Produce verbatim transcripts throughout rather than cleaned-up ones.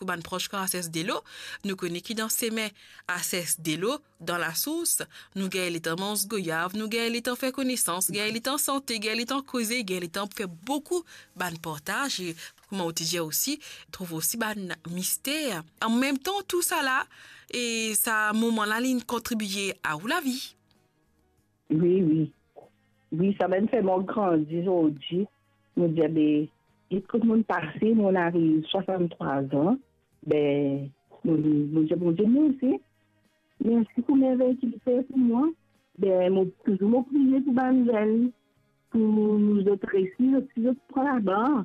pou bann pros kan Ases Delo, nou kone ki dan semin Ases Delo, dan lasours, nou gagn letan manz goyav, nou gagn letan fer konesans, gagn letan sante, gagn letan koze, gagn letan fer boukou bann partaz, e kouma ou ti dir osi, trouv osi bann mister. An mem tan, tou sa la, e sa moman la, li'nn kontribie a ou lavi. Wi, wi. Wi, samem fer mwa grandi zordi. Mo dir, be, e kot mo'nn pase, mo'nn ariv swasanntrwa an. Be, mo, mo dir Bondie mersi. Mersi pou mervey ki li fer pou mwa. Be, mo touzour mo priye pou bann zenn, pou zot resi, zot, si zot pran labar.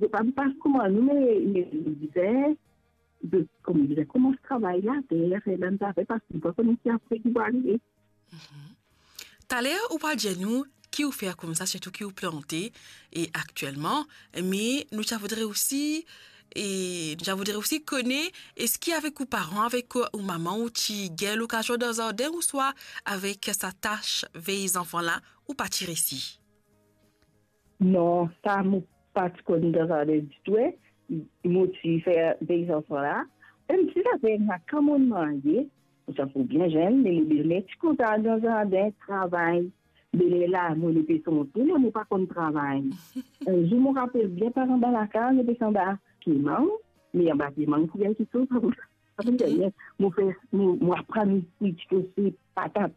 Zot pa pou pas kouma nou, me, me bizin, zot, kouma bizin koumans travay later, fer bann zafer, parski nou pa kone ki apre ki pou arive. Mhm. Taler, ou pa dir nou ki ou fer koumsa, sirtou ki ou plante, e aktielman, me nou ti a voudre osi, e nou ti a voudre osi kone, eski avek ou paran, avek ou mama, ou ti gagn lokazion dan zardin, ouswa avek sa tas vey zanfan la, ou pa ti resi? Non, sa mo pa ti konn dan zardin ditou, e. Mo ti fer vey zanfan la. Mem si sa fer enn kan mo'nn marye, mo ti ankor bien zenn, me mo belmer ti kontan al dan zardin, travay. Me lerla, mo, mo pe santi, mo pa konn travay. Enn zour, mo rapel bien, par anba lakaz, nou pe anba pie mang, me anba pie mang, pou gagn kiksoz, sa pou, sa pou gagn. Mo fer, mo, mo aprann ti, ti kouze patat,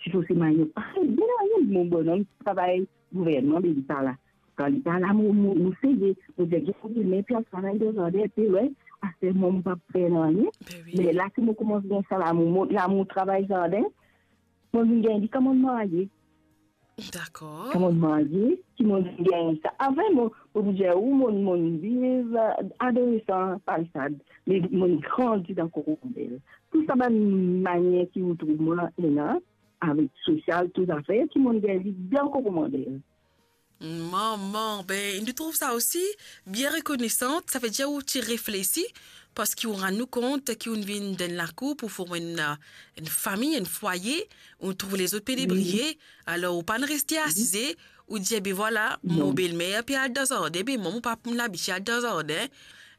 ti kouze manniok. Parey, bien, mo bonom travay gouvernman, me li pa la. Kan li pa la, mo, mo, mo seye, mo dir, "Get, mo belmer pe al travay dan zardin, pe lwin, aster mwa mo pa fer nanye." Be wi. Me la ki mo koumans gagn sa lamour, mo, lamour travay zardin, mo vinn gagn li kan mo'nn marye. Dakor. Kan mo'nn marye, ki mo'nn gagn sa. Avan, mo, mo pou dir ou, mo, mo'nn viv, eh, adolesan, Palisad, me mo'nn grandi dan Koromandel. Tou sa bann manier ki ou trouv mwa ena, avek sosial, tou zafer, ki mo'nn gagn li dan Koromandel. Manman, be, nou trouv sa osi bien rekonesan, savedir ou ti reflesi, parski ou rann ou kont ki ou'nn vinn dan enn lakour pou form enn, enn fami, enn fwaye, ou trouv lezot pe debriye, alor ou pa'nn reste asize, ou dir, "Be vwala, mo belmer pe al dan zardin, be mwa, mo pa pou labitie al dan zardin."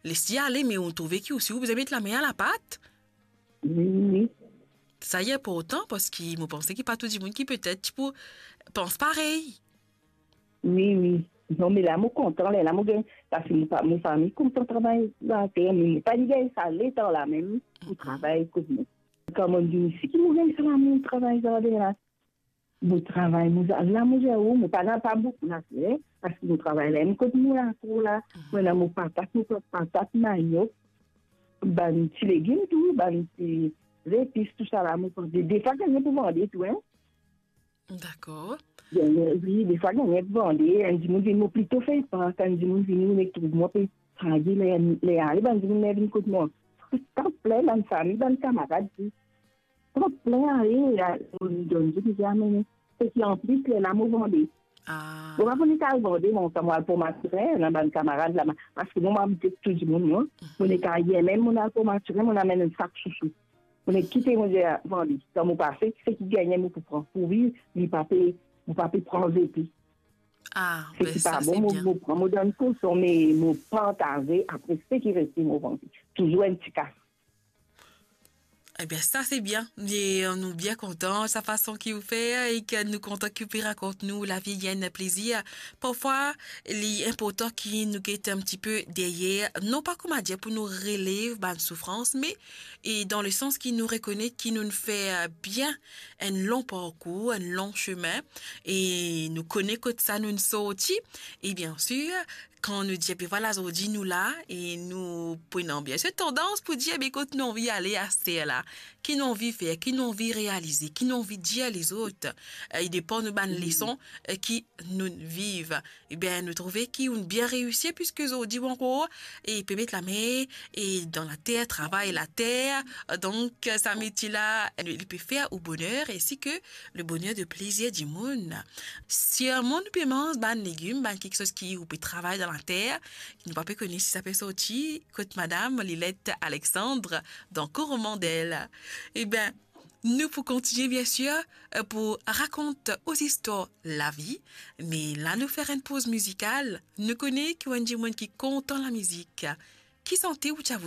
Les li ale, me ou trouve ki osi ou bizin met lame a lapat. Wi, wi. Sa li inportan, parski mo panse ki pa tou dimoun ki petet ti pou pans parey. Wi, wi. Non, me la mo kontan, lerla mo gagn, parski mo pa, mo fami kontan travay later, me mo pa ti gagn sa letan la mem pou travay kot mwa. Kan mo'nn vinn isi ki mo gagn sa lamour travay zardin la. Mo travay, mo za-, la mo dir ou, mo pa ena pa boukou later, parski mo travay la, mo kot mo lakour la, mo ena mo patat, mo plant patat, manniok, bann ti legim tou, bann ti zepis, tou sa la, mo plant. De, defwa gagn pou vande tou, hein. Dakor. Gagn, wi, defwa gagn pou vande, enn dimoun vini, mo plito fer par, kan dimoun vini, mo trouv mwa pe fage, ler, ler ale, bann dimoun vinn kot mwa. Tan plen, bann fami, bann kamarad, tou. Tan plen ale, la, mo donn zot, mo dir, "Amenn." Seki anplis, lerla mo vande. Ah. Mo pa pou nek al vande, mo, kan mo al pran matirin, ena bann kamarad la, parski mo, mo abite tou dimoun, non. Mo nek al yer mem, mo al pran matirin, mo amenn enn sak sousou. Mo nek kite, mo dir, "Vande." Kan mo pase, seki gagne, mo pou pran. Pou viv, li pa pe, mo pa pe pran zepi. Ah, seki pa bon, mo, mo pran, mo donn koson, me mo partaze, apre seki reste, mo vande. Touzour enn ti kas. Ebien, sa se bien. E, nou bien kontan sa fason ki ou fer e ki nou kontan ki ou pe rakont nou lavi, li enn plezir. Parfwa, li inportan ki nou get enn tipe deryer, non pa koumadir pou nou relev bann soufrans, me, e dan le sans ki nou rekonet ki nou'nn fer bien enn long parkour, enn long semin, e nou kone kot sa nou'nn sorti. E biensir, kan nou dir, be vwala, zordi nou la, e nou pran bien se tandans pou dir, be kot nou anvi ale aster la, ki nou anvi fer, ki nou anvi realize, ki nou anvi dir lezot, e depan nou bann leson, e ki nou viv. Ebien, nou trouve ki ou'nn bien reisi, piski zordi ou ankor, e pe met lame, e dan later, travay later. Donk, sa metie la, li pe fer ou boner, ainsi que le bonheur de plizier dimoun. Sirman nou pe manz bann legim, bann kiksoz ki ou pe travay dan later, ki nou pa pe kone si sa pe sorti kot madam Lilette Alexandre dan Koromandel. Ebien, nou pou kontinie, biensir, pou rakont ou zistwar lavi, me la nou fer enn poz mizikal. Nou kone ki ou enn dimoun ki kontan lamizik. Ki sante ou ti a